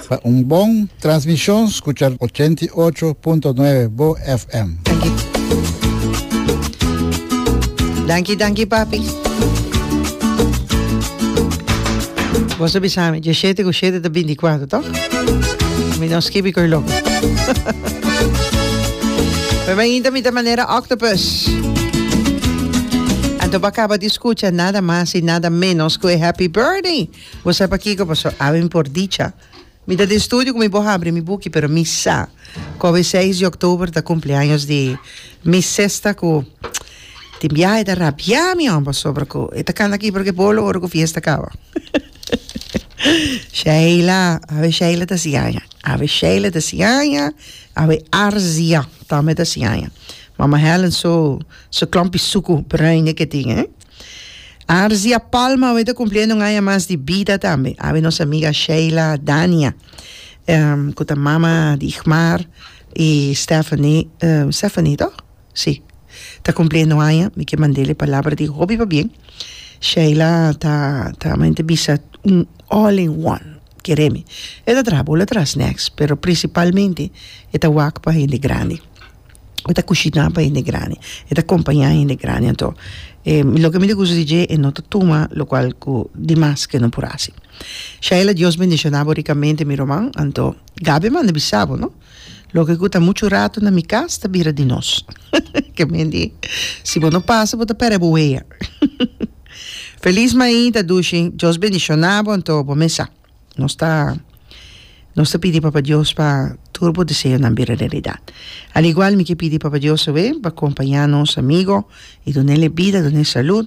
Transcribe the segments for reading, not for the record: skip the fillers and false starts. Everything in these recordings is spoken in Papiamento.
Pa un bon transmishon skucha 88.9 Bo FM. Danki. Danki, danki papi. Bo sa bisa mi, djeshete ku shete ta bintikwatro, toch? Mi no skibi koe loko. Pero mainta mi ta manera octopus. Anto bo a kaba di skucha nada mas i nada menos ku e happy birthday. Bo sa pakiko? Pasobra awe mi por dicha. Mi ta den studio ku mi por habri mi buki, pero mi sa ku awe seis di oktober ta kumpleaños di mi sesta ku tin biaha e ta rabia mi hòmber pasobra ku e ta kanta kibra ku e bolo ora ku fiesta kaba. Sheila, awe Sheila ta hasi aña, awe Sheila ta hasi aña, awe Arzia tambe ta hasi aña. Mama Helen su su klòmpi suku bruin e ke tin, eh. Arzia Palma awe ta cumpliendo un aña mas di bida tambe. Awe nos amiga Sheila Dania, cu ta mama di Igmar y Stephanie, Stephanie toch? Si, ta cumpliendo un aña. Mi ke mand'el e palabra di hopi pabien. Sheila ta ta mente bisa un all in one, kere mi. E ta traha bola traha snacks, pero principalmente e ta wak pa hende grandi. E ta kushiná pa hende grandi, e ta kompañá hende grandi. Anto, e loke mi ta gusta di dje, e no ta tuma lokual ku dimas ku e no por hasi. Shaila, Dios bendishoná bo rikamente, mi ruman. Anto, Gaby a manda bisa bo, no? Loke ku ta muchu ratu na mi kas ta bira di nos. Ke men di, si bo no pasa, bo ta pèrdè bo wea. Felis mainta, dushi. Dios bendishoná bo, anto bo mes sa. Nos ta nos ta pidi Papa Dios pa tur bo deseonan bira realidat. Al igual mi ke pidi Papa Dios awe pa kompañá nos amigo i dun'el e bida, dun'el salud,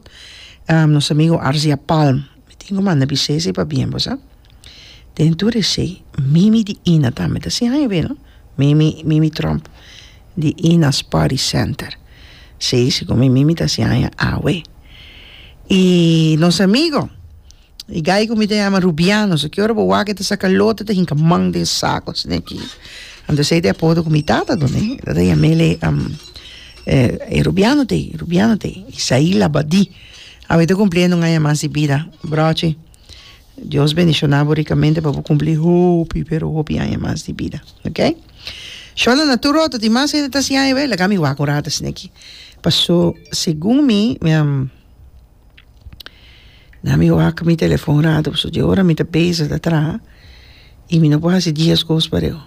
nos amigo Arzia Palm. Mi tin ku manda bis'é esei pabien bo sa. Den tur esei, Mimi di Ina tambe ta hasi aña awe no. Mimi, Mimi Tromp di Ina's Party Center. Si, segun mi Mimi ta hasi aña awe. I nos amigo. E gai ku mi ta yama Rubiano, so ki ora bo wak e ta saka lote ta hinka man den sako asina aki. Anto esei ta e apodo ku mi tata dun'e. E ta yam'el e Rubiano t'ei, Rubiano t'ei. Isaí Labadí. Awe ta kumpliendo un aña mas di bida. Brochi, Dios bendishoná bo rikamente pa bo kumpli hopi pero hopi aña mas di bida. Ok. Shona na tur otro tin mas hende ta hasi aña laga mi wak un rato asina aki. Paso segun mi. Na mi wak mi telefon rato pasobra di ora mi ta bezig ta traha y mi no por haci dies cos pareu.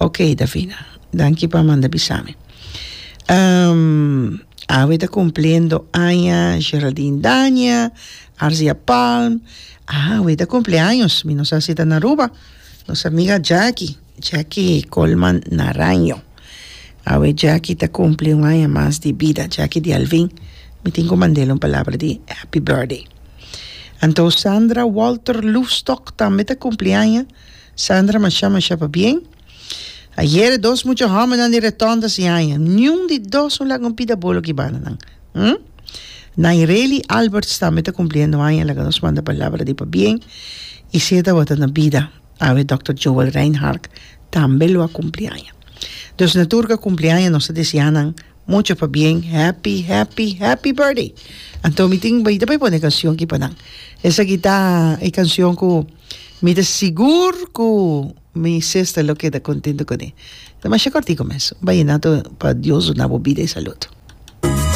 Ok Davina, danki pa manda bisa mi. Awe ta cumpliendo aña Geraldine Dania, Arzia Palm, awe ta cumpleaños, mi no sa si ta na Aruba, nos amiga Jackie, Jackie Colman Naraño. Awe Jackie ta cumpli un aña mas di bida, Jackie di Alvin, mi tin cu mand'el un palabra di happy birthday. Anto Sandra Walter Loefstok tambe ta cumpli aña, Sandra masha masha pabien. Ayer e dos mucha homennan di Reton ta haci aña, niun di dos no laga un pida bolo ki banda nan. Hm? Naireli Alberts tambe ta cumpliendo aña, laga nos manda palabra di pabien y si e tabata na bida. Awe Dòkter Joel Reinhard tambe lo a kumpli aña. Dus na tur ku a kumpli aña nos ta deseá nan mucho pabien, happy, happy, happy birthday! Anto mi tin mi ta bai pone e kanshon aki pa nan. Esaki ta e kanshon ku mi ta sigur ku mi sister lo keda kontento kuné. Ta masha kòrtiku mes. Un bayinato pa Dios duna bo bida i salud.